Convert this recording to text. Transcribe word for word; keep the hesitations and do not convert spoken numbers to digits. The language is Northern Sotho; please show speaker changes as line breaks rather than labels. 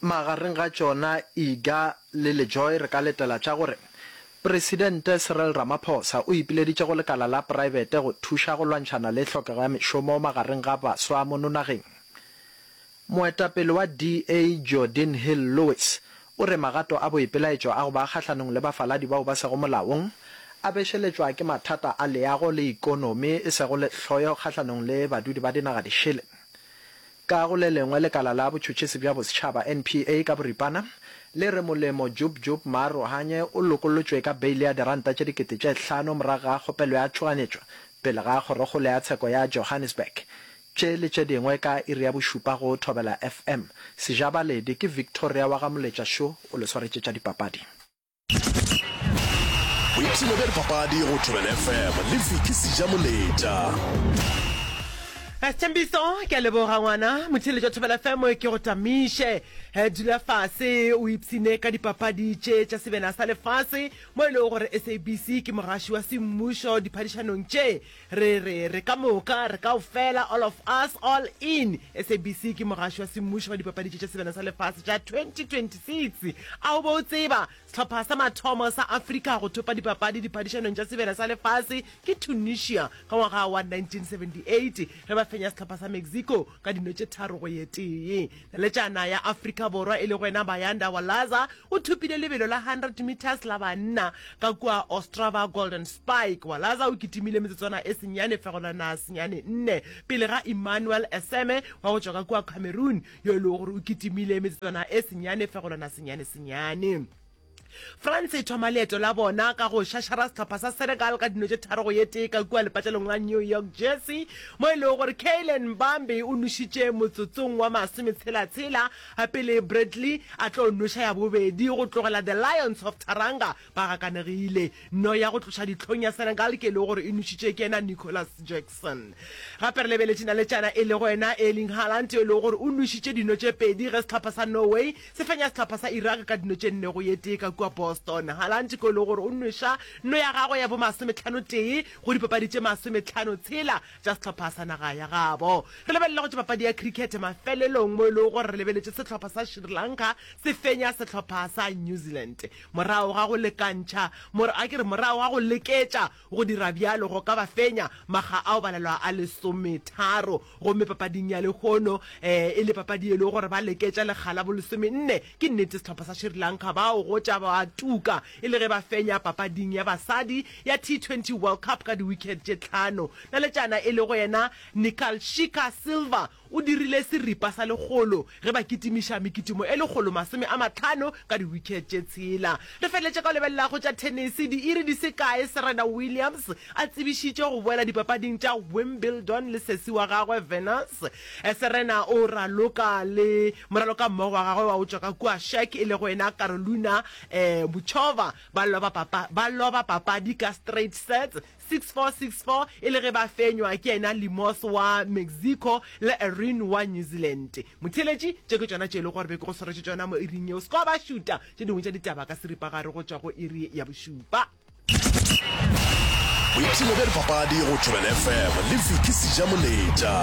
Magareng ga tšona Iga le LeJoy re ka letela tša gore Presidente Cyril Ramaphosa o ipileditše go lekala la praebete go thuša go lwantšhana le hlokego ya mešomo magareng ga baswa mono nageng. Moetapele wa D A Geordin Hill-Lewis o re magato a boipelaetšo a go ba kgahlanong le bafaladi bao ba sego molaong a bešeletšwa ke mathata a leago le ikonomi e sego lehloyo kgahlanong le badudi ba dinaga dišele. Ka go le lengwe, lekala la botšhotšhisi bja bosetšhaba, N P A ka boripana, le re Molemo Jub Jub Maarohanye o lokollotšwe ka beile ya diranta tše dikete tše hlano morago ga kgopelo ya tšhoganyetšo pele ga Kgorokgolo ya Tsheko ya Johannesburg. Tše le tše dingwe ka iri ya bošupa go Thobela F M. Sejabaledi ke Victoria wa ga Moletša Šo o le swaretše tša dipapadi.
Boipshino bja dipapadi go Thobela F M le Vicky Sejamoletša.
Sethembiso, ke a leboga ngwana. Motheeletši wa Thobela F M, ke go tamiše. Dula fase o ipshine ka dipapadi tše tša sebena sa lefase mo e lego gore S A B C ke mogaši wa semmušo diphadišanong tše. Re re re ka moka, re kaofela, all of us, all in. S A B C ke mogaši wa semmušo wa dipapadi tše tša sebena sa lefase tša twenty twenty-six. A o be o tseba sehlopha sa mathomo sa Afrika go thopa dipapadi diphadišanong tša sebena sa lefase ke Tunisia ka ngwaga wa nineteen seventy-eight ge ba fenya sehlopha sa Mexico ka dino tše tharo go ye tee? Naletšana ya Afrika Borwa e lego yena Bayanda Walaza o thopile lebelo la hundred meters la banna ka kua Ostrava Golden Spike. Walaza o kitimile metsotswana e senyane fegelwana senyane nne pele ga Emmanuel Eseme wa go tšwa ka kua Cameroon yo e lego gore o kitimile metsotswana e senyane fegelwana senyane senyane. France e thoma leeto la bona ka go šašara sehlopha sa Senegal ka dino tše tharo go ye tee ka kua lepatlelong la New York Jersey mo e lego gore Kylian Mbappe o nošitše motsotsong wa masometshela-tshela pele Bradley a tlo noša ya bobedi go tlogela The Lions of Teranga ba gakanegile. No ya go tloša dihlong ya Senegal ke e lego gore e nošitše ke yena Nicholas Jackson. Gape re lebeletše naletšana e lego yena Erling Haaland yo e lego gore o nošitše dino tše pedi ge sehlopha sa Norway se fenya sehlopha sa Iraq ka dino tše nne go ye tee ka kua Boston. Haaland ke e lego gore o nweša no ya gagwe ya bo masometlhano tee go dipapadi tše masometlhano tshela tša sehlopha sa naga ya gabo. Re lebelela go tša papadi ya cricket mafelelong mo e lego gore re lebeletše sehlopha sa Sri Lanka se fenya sehlopha sa New Zealand morago ga go lekantšha a ke re morago ga go leketša go dira bjalo go ka ba fenya makga ao balelwa a lesometharo, gomme papading ya lehono um e le papadi e le gore ba leketša lekga la bolesomenne. Ke nnete sehlopha sa Sri Lanka bao go tša ba tuka e le ge ba fenya papading ya basadi ya T twenty World Cup ka di-wicket tše tlhano. Naletšana e le go yena Nikalshika Silva o dirile seripa sa lekgolo ge ba kitimiša mekitimo e lekgolo masome a matlhano ka di-wicket tše tshela. Re feleletše ka go lebelela go tša tennis. Diiri di se kae Serena Williams a tsebišitše go boela dipapading tša Wimbledon le sesi wa gagwe Venus, Serena o raloka le moraloka mmogo wa gagwe wa go tšwa ka kua Czech e lego yena Karolina um Muchova. Ba loba papa ba loba papadi ka straight sets six four, six four e le ge ba fenywa ke yena Limos wa Mexico le Erin wa New Zealand. Motheeletši, tše ke tšona tše e lego gore be ke go swaretše tšona mo iring yeo. Se ka ba šuta tše dingwe tša ditaba ka seripagare go tšwa go iri ya bošupa.
Boipshino bja dipapadi go Thobela F M le Vicky Sejamoletša.